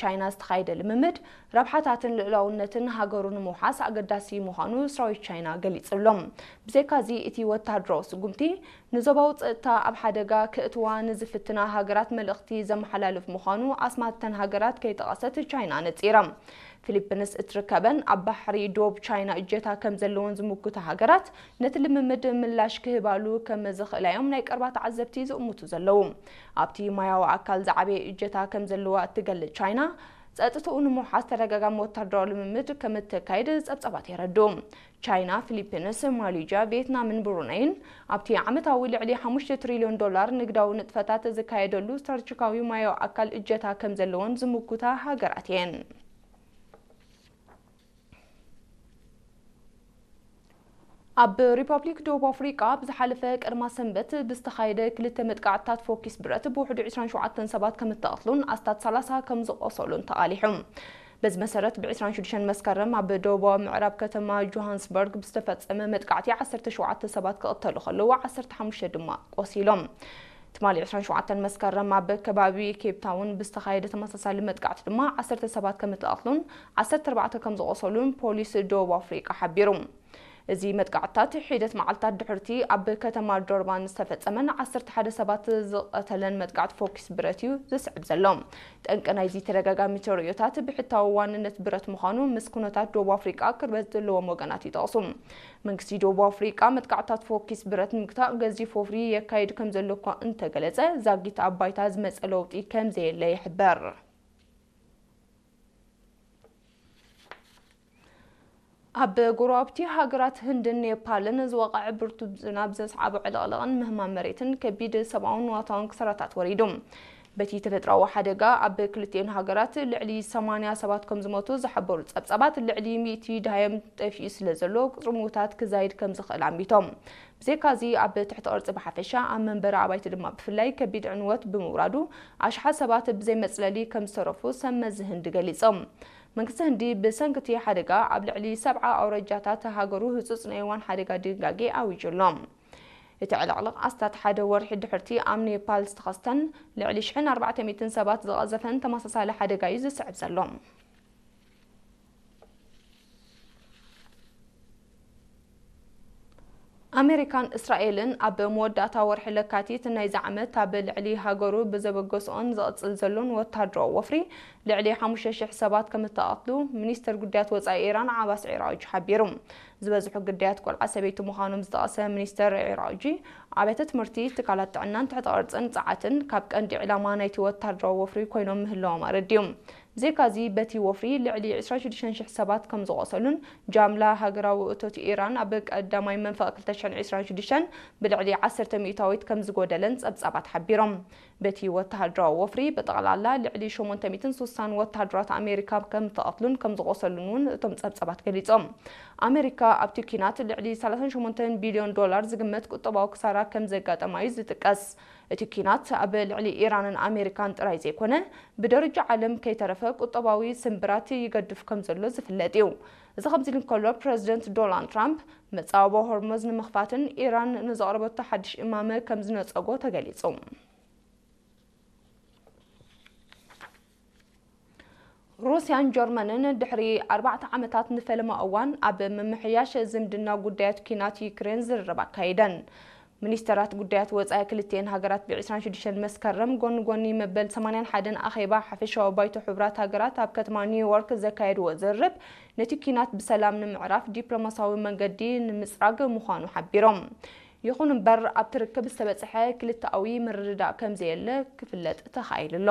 ቻይና ዝተኻየደ ልምምድ ረብሓታትን ልኡላውነትን ሃገሩ ንምውሓስ ኣገዳሲ ምዃኑ ሰራዊት ቻይና ገሊጹ ኣሎ። ብዘይካዚ፣ እቲ ወተሃደራዊ ስጉምቲ ንዞባዊ ጸጥታ ኣብ ሓደጋ ክእትዋ ንዝፍትና ሃገራት መልእኽቲ ዘመሓላልፍ ምዃኑ ኣስማት እተን ሃገራት ከይጠቐሰት ቻይና ነጺራ። ፊሊፒንስ እትርከበን ኣብ ባሕሪ ዶብ ቻይና እጀታ ከም ዘለወን ዝምጉታ ሃገራት፣ ነቲ ልምምድ ምላሽ ክህባሉ ከም ዝኽእላ እዮም ናይ ቀረባ ተዓዘብቲ ዝእምቱ ዘለዉ። ኣብቲ ማያዊ ኣካል ዝዓበየ እጀታ ከም ዘለዋ እትገልጽ ቻይና፣ ጸጥታኡ ንምውሓስ ተደጋጋሚ ወታደራዊ ልምምድ ከም እተካይድ ጸብጻባት የረድኡ። ቻይና፣ ፊሊፒንስ፣ ማሌዥያ፣ ቪየትናምን ብሩነይን ኣብቲ ዓመታዊ ልዕሊ ሓሙሽተ ትሪልዮን ዶላር ንግዳዊ ንጥፈታት ዝካየደሉ ስትራቴጂካዊ ማያዊ ኣካል እጀታ ከም ዘለወን ዝምጉታ ሃገራት እየን። ኣብ ሪፐብሊክ ደቡብ ኣፍሪቃ ብዝሓለፈ ቀዳማ ሰንበት ብዝተኻየደ ክልተ መጥቃዕትታት ፎኪስ ብረት ብውሕዱ ዕስራን ሸውዓተን ሰባት ከም እተቐትሉን ኣስታት ሰላሳ ከም ዝቖሰሉን ተቓሊሑ። በዚ መሰረት፣ ብ ዕስራን ሽዱሽተን መስከረም ኣብ ደቡባዊ ምዕራብ ከተማ ጆሃንስበርግ ብዝተፈጸመ መጥቃዕቲ ዓሰርተ ሸውዓተ ሰባት ክቕተሉ ከለዉ፣ ዓሰርተ ሓሙሽተ ድማ ቆሲሎም። ትማሊ ዕስራን ሸውዓተን መስከረም ኣብ ከባቢ ኬፕ ታውን ብዝተኻየደ ተመሳሳሊ መጥቃዕቲ ድማ ዓሰርተ ሰባት ከም እተቐትሉን ዓሰርተ ኣርባዕተ ከም ዝቖሰሉን ፖሊስ ደቡብ ኣፍሪቃ ሓቢሩ። እዚ መጥቃዕትታት ሒደት መዓልታት ድሕርቲ ኣብ ከተማ ዶርባን ዝተፈጸመን ዓሰርተ ሓደ ሰባት ዝቐተለን መጥቃዕቲ ፎኪስ ብረት እዩ ዝስዕብ ዘሎ። ጠንቂ ናይዚ ተደጋጋሚ ተርእዮታት ብሕታዊ ዋንነት ብረት ምዃኑ ምስ ኩነታት ደቡብ ኣፍሪቃ ቅርበት ዘለዎም ወገናት ይጠቕሱ። መንግስቲ ደቡብ ኣፍሪቃ መጥቃዕትታት ፎኪስ ብረት ንምግታእ ገዚፍ ወፍሪ የካይድ ከም ዘሎ እኳ እንተገለጸ፣ ዛጊት ኣብ ባይታ ዝመጸ ለውጢ ከም ዘየለ ይሕበር። ኣብ ጎረባብቲ ሃገራት ህንድን ኔፓልን ዝወቕዐ ብርቱዕ ዝናብ ዘስዓቦ ዕልቕልቕን ምህማም መሬትን ከቢድ ሰብኣውን ንዋታውን ክሳራታት ወሪዱ። በቲ ተፈጥሮኣዊ ሓደጋ፣ ኣብ ክልቲኤን ሃገራት ልዕሊ ሰማንያ ሰባት ከም ዝሞቱ ዝሓበሩ ጸብጻባት፣ ልዕሊ ሚእቲ ደሃዮም ጠፊኡ ስለ ዘሎ፣ ቁጽሪ ምዉታት ክዛይድ ከም ዝኽእል ኣሚቶም። ብዘይካዚ፣ ኣብ ትሕቲ ቅርጺ ብሓፈሻ፣ ኣብ መንበሪ ኣባይቲ ድማ ብፍላይ ከቢድ ዕንወት ብምውራዱ፣ ኣሽሓት ሰባት ብዘይ መጽለሊ ከም ዝተረፉ ሰብ መዚ ህንዲ ገሊጾም። መንግስቲ ህንዲ ብሰንኪ እቲ ሓደጋ ኣብ ልዕሊ ሰብዓ ኣውራጃታት ሃገሩ ህጹጽ ናይ እዋን ሓደጋ ድንጋጌ ኣዊጁ ኣሎ። እቲ ዕልቕልቕ ኣስታት ሓደ ወርሒ ድሕርቲ ኣብ ኔፓል ዝተኸስተን ልዕሊ ሽሕን ኣርባዕተ ሚእትን ሰባት ዝቐዘፈን ተመሳሳሊ ሓደጋ እዩ ዝስዕብ ዘሎ። ኣሜሪካን እስራኤልን ኣብ መወዳእታ ወርሒ ለካቲት ናይዚ ዓመት ኣብ ልዕሊ ሃገሩ ብዘበገስኦን ዝቕጽል ዘሎን ወታደራዊ ወፍሪ ልዕሊ ሓሙሽተ ሽሕ ሰባት ከም እተቐትሉ ሚኒስተር ጉዳያት ወጻኢ ኢራን ዓባስ ዒራጅ ሓቢሩ። ዝበዝሑ ግዳያት ቆልዓ ሰበይቲ ምዃኖም ዝጠቐሰ ሚኒስተር ዒራጅ፣ ኣብያተ ትምህርቲ፣ ትካላት ጥዕናን ትሕተ ቅርጽን ጸዓትን ካብ ቀንዲ ዕላማ ናይቲ ወታደራዊ ወፍሪ ኮይኖም ምህላዎም ኣረዲኡ። ብዘይካዚ፣ በቲ ወፍሪ ልዕሊ ዕስራን ሽዱሽተን ሽሕ ሰባት ከም ዝቖሰሉን ጃምላ ሃገራዊ እቶት ኢራን ኣብ ቀዳማይ መንፈቕ ክልተ ሽሕን ዕስራን ሽዱሽተን ብልዕሊ ዓሰርተ ሚእታዊት ከም ዝጎደለን ጸብጻባት ሓቢሮም። በቲ ወተሃደራዊ ወፍሪ ብጠቕላላ ልዕሊ ሸሞንተ ሚእትን ሱሳን ወተሃደራት ኣሜሪካ ከም ተቐትሉን ከም ዝቖሰሉን እውን እቶም ጸብጻባት ገሊጾም። ኣሜሪካ ኣብቲ ኲናት ልዕሊ ሰላሳን ሸሞንተን ቢልዮን ዶላር ዝግመት ቁጠባዊ ክሳራ ከም ዘጋጠማ እዩ ዝጥቀስ። እቲ ኲናት ኣብ ልዕሊ ኢራንን ኣሜሪካን ጥራይ ዘይኮነ፣ ብደረጃ ዓለም ከይተረፈ ቁጠባዊ ስንብራት ይገድፍ ከም ዘሎ ዝፍለጥ እዩ። እዚ ከምዚ ኢሉ እንከሎ፣ ፕረዚደንት ዶናልድ ትራምፕ መጻወቦ ሆርሙዝ ንምኽፋትን ኢራን ንዘቕረበቶ ሓድሽ እማመ ከም ዝነጸጎ ተገሊጹ። ሩስያን ጀርመንን ድሕሪ ኣርባዕተ ዓመታት ንፈለማ እዋን ኣብ ምምሕያሽ ዝምድና ጉዳያት ኲናት ዩክሬን ዝርርብ ኣካይደን። ሚኒስተራት ጉዳያት ወጻኢ ክልቲኤን ሃገራት ብ ዕስራን ሽዱሽተን መስከረም ጎኒ ጎኒ መበል ሰማንያን ሓደን ኣኼባ ሓፈሻዊ ባይቶ ሕቡራት ሃገራት ኣብ ከተማ ኒውዮርክ ዘካየድዎ ዝርርብ፣ ነቲ ኲናት ብሰላም ንምዕራፍ ዲፕሎማሲያዊ መንገዲ ንምጽራግ ምዃኑ ሓቢሮም። ይኹን እምበር፣ ኣብቲ ርክብ ዝተበጽሐ ክልተኣዊ ምርድዳእ ከም ዘየለ ክፍለጥ ተኻኢሉ ኣሎ።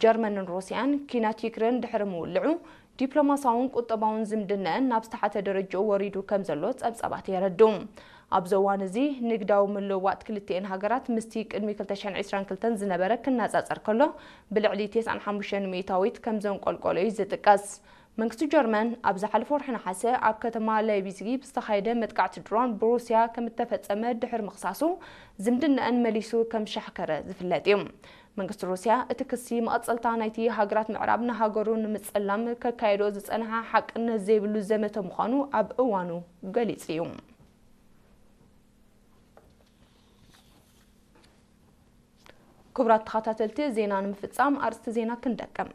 ጀርመንን ሩስያን ኲናት ዩክሬን ድሕሪ ምውልዑ፣ ዲፕሎማሲያውን ቁጠባውን ዝምድነአን ናብ ዝተሓተ ደረጃኡ ወሪዱ ከም ዘሎ ጸብጻባት የረድኡ። ኣብዚ እዋን እዚ፣ ንግዳዊ ምልውዋጥ ክልቲኤን ሃገራት ምስቲ ቅድሚ ክልተ ሽሕን ዕስራን ክልተን ዝነበረ ክነጻጸር ከሎ፣ ብልዕሊ ተስዓን ሓሙሽተን ሚእታዊት ከም ዘንቆልቆሎ እዩ ዝጥቀስ። መንግስቲ ጀርመን ኣብ ዝሓለፈ ወርሒ ነሓሰ ኣብ ከተማ ላይፕዚግ ብዝተኻየደ መጥቃዕቲ ድሮን ብሩስያ ከም እተፈጸመ ድሕሪ ምኽሳሱ፣ ዝምድነአን መሊሱ ከም ዝሻሕከረ ዝፍለጥ እዩ። መንግስቲ ሩስያ፣ እቲ ክሲ መቐጸልታ ናይቲ ሃገራት ምዕራብ ንሃገሩ ንምጽላም ከካየዶ ዝጸንሓ ሓቅነት ዘይብሉ ዘመተ ምዃኑ ኣብ እዋኑ ገሊጹ እዩ። ክቡራት ተኸታተልቲ፣ ዜና ንምፍጻም ኣርእስቲ ዜና ክንደቅም።